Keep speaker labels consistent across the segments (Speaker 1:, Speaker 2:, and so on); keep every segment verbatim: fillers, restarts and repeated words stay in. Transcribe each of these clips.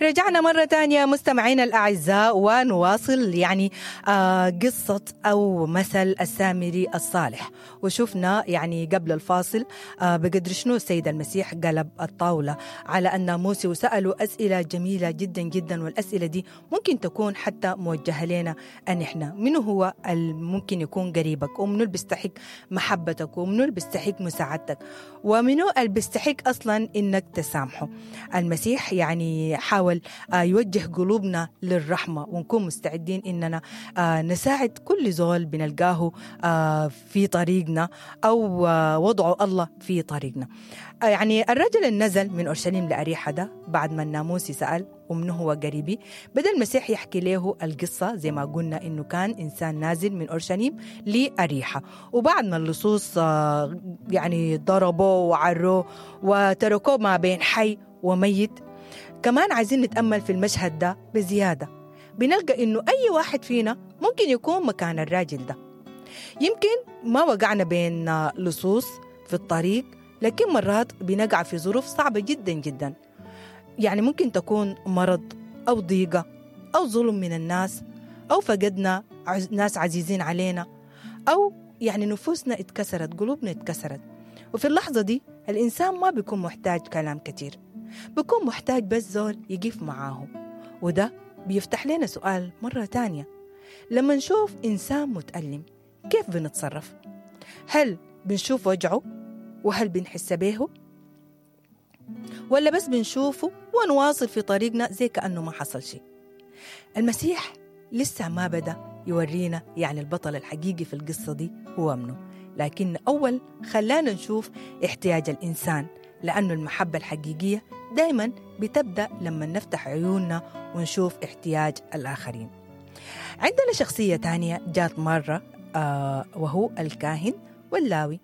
Speaker 1: رجعنا مرة تانية مستمعينا الأعزاء ونواصل يعني آه قصة أو مثل السامري الصالح. وشفنا يعني قبل الفاصل آه بقدر شنو السيد المسيح قلب الطاولة على الناموسي وسألوا أسئلة جميلة جدا جدا، والأسئلة دي ممكن تكون حتى موجهة لنا أن إحنا منو هو ممكن يكون قريبك، ومنو اللي بيستحق محبتك، ومنو اللي بيستحق مساعدتك، ومنو اللي بيستحق أصلا إنك تسامحه. المسيح يعني حاول يوجه قلوبنا للرحمة ونكون مستعدين إننا نساعد كل زول بنلقاه في طريقنا أو وضعه الله في طريقنا. يعني الرجل النزل من أورشليم لأريحة ده بعد ما الناموسي سأل ومنه هو قريبي، بدأ المسيح يحكي له القصة زي ما قلنا إنه كان إنسان نازل من أورشليم لأريحة، وبعد ما اللصوص يعني ضربوه وعروه وتركوه ما بين حي وميت. كمان عايزين نتأمل في المشهد ده بزيادة، بنلقى إنه أي واحد فينا ممكن يكون مكان الراجل ده. يمكن ما وقعنا بين لصوص في الطريق، لكن مرات بنقع في ظروف صعبة جدا جدا. يعني ممكن تكون مرض أو ضيقة أو ظلم من الناس، أو فقدنا ناس عزيزين علينا، أو يعني نفوسنا اتكسرت، قلوبنا اتكسرت. وفي اللحظة دي الإنسان ما بيكون محتاج كلام كتير، بيكون محتاج بس زول يقف معاه. وده بيفتح لنا سؤال مرة تانية، لما نشوف إنسان متألم كيف بنتصرف؟ هل بنشوف وجعه؟ وهل بنحس به؟ ولا بس بنشوفه ونواصل في طريقنا زي كأنه ما حصل شيء؟ المسيح لسه ما بدأ يورينا يعني البطل الحقيقي في القصة دي هو منه، لكن أول خلانا نشوف احتياج الإنسان، لأنه المحبة الحقيقية دايما بتبدأ لما نفتح عيوننا ونشوف احتياج الآخرين. عندنا شخصية تانية جات مرة آه وهو الكاهن واللاوي.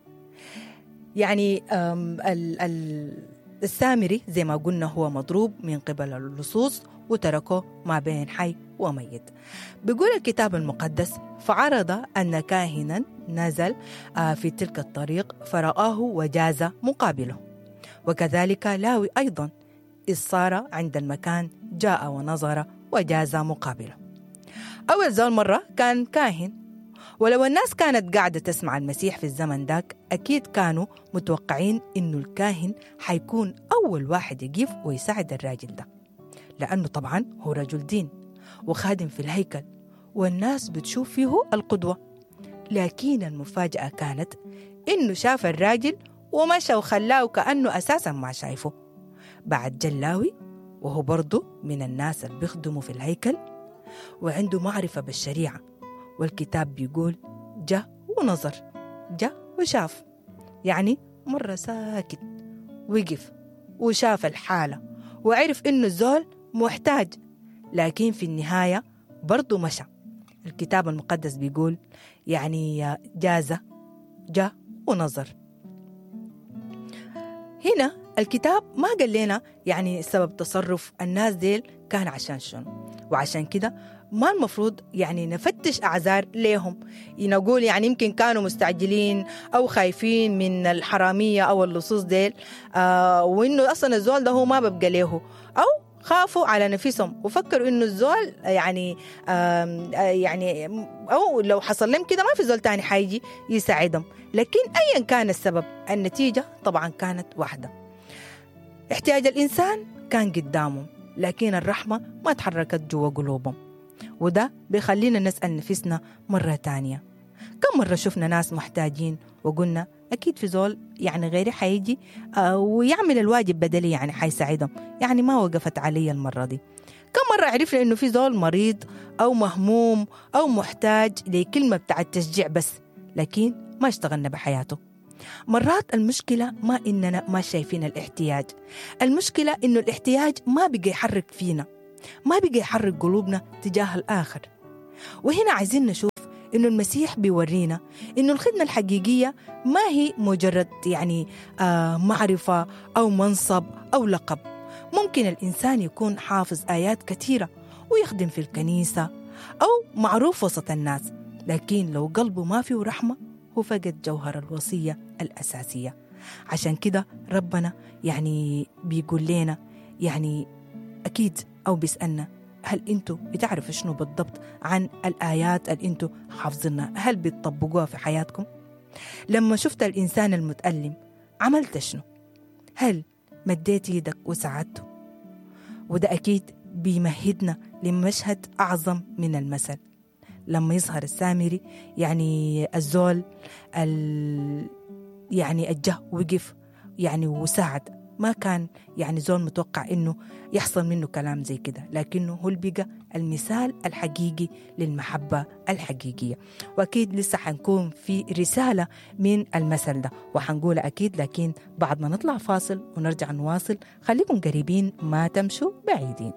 Speaker 1: يعني ال ال السامري زي ما قلنا هو مضروب من قبل اللصوص وتركه ما بين حي وميت. بيقول الكتاب المقدس: فعرض أن كاهنا نزل في تلك الطريق فرآه وجاز مقابله، وكذلك لاوي أيضا إذ صار عند المكان جاء ونظر وجاز مقابله. أول زول مرة كان كاهن، ولو الناس كانت قاعدة تسمع المسيح في الزمن داك أكيد كانوا متوقعين إنه الكاهن حيكون أول واحد يقف ويساعد الراجل ده، لأنه طبعا هو رجل دين وخادم في الهيكل والناس بتشوف فيه القدوة. لكن المفاجأة كانت إنه شاف الراجل ومشى وخلاه كأنه أساسا ما شايفه. بعد جلاوي وهو برضه من الناس اللي بيخدموا في الهيكل وعنده معرفة بالشريعة، والكتاب بيقول جاء ونظر، جاء وشاف. يعني مرة ساكت وقف وشاف الحالة وعرف إنه الزول محتاج، لكن في النهاية برضه مشى. الكتاب المقدس بيقول يعني جازة جاء ونظر. هنا الكتاب ما قال لنا يعني سبب تصرف الناس ديل كان عشان شنو، وعشان كده ما المفروض يعني نفتش أعذار ليهم، نقول يعني يمكن كانوا مستعجلين أو خايفين من الحرامية أو اللصوص ديل، آه وإنه أصلا الزول ده هو ما ببقى له، أو خافوا على نفسهم وفكروا إنه الزول يعني آه يعني أو لو حصل لهم كده ما في زول تاني حيجي يساعدهم. لكن أيا كان السبب النتيجة طبعا كانت واحدة، احتياج الإنسان كان قدامهم، لكن الرحمة ما تحركت جوا قلوبهم. وده بيخلينا نسأل نفسنا مرة تانية، كم مرة شفنا ناس محتاجين وقلنا أكيد في زول يعني غيري حيجي ويعمل الواجب بدلي، يعني حيساعدهم، يعني ما وقفت علي المرة دي. كم مرة عرفنا إنه في زول مريض أو مهموم أو محتاج لكلمة بتاع التشجيع بس، لكن ما اشتغلنا بحياته. مرات المشكلة ما إننا ما شايفين الاحتياج، المشكلة إنه الاحتياج ما بقى يحرك فينا، ما بقى يحرك قلوبنا تجاه الآخر. وهنا عايزين نشوف إنه المسيح بيورينا إنه الخدمة الحقيقية ما هي مجرد يعني آه معرفة أو منصب أو لقب. ممكن الإنسان يكون حافظ آيات كثيرة ويخدم في الكنيسة أو معروف وسط الناس، لكن لو قلبه ما فيه رحمة هو فقد جوهر الوصية الأساسية. عشان كده ربنا يعني بيقول لنا يعني أكيد أو بيسألنا هل أنتوا بتعرفوا شنو بالضبط عن الآيات اللي أنتوا حافظينها؟ هل بتطبقوها في حياتكم؟ لما شفت الإنسان المتألم عملت شنو؟ هل مديت يدك وساعدته؟ وده أكيد بيمهدنا لمشهد أعظم من المثل لما يظهر السامري، يعني الزول ال يعني الجه وقف يعني وساعد. ما كان يعني زول متوقع إنه يحصل منه كلام زي كده، لكنه هو اللي بقى المثال الحقيقي للمحبة الحقيقية. وأكيد لسه حنكون في رسالة من المثل ده وحنقول أكيد، لكن بعد ما نطلع فاصل ونرجع نواصل. خليكم قريبين، ما تمشوا بعيدين.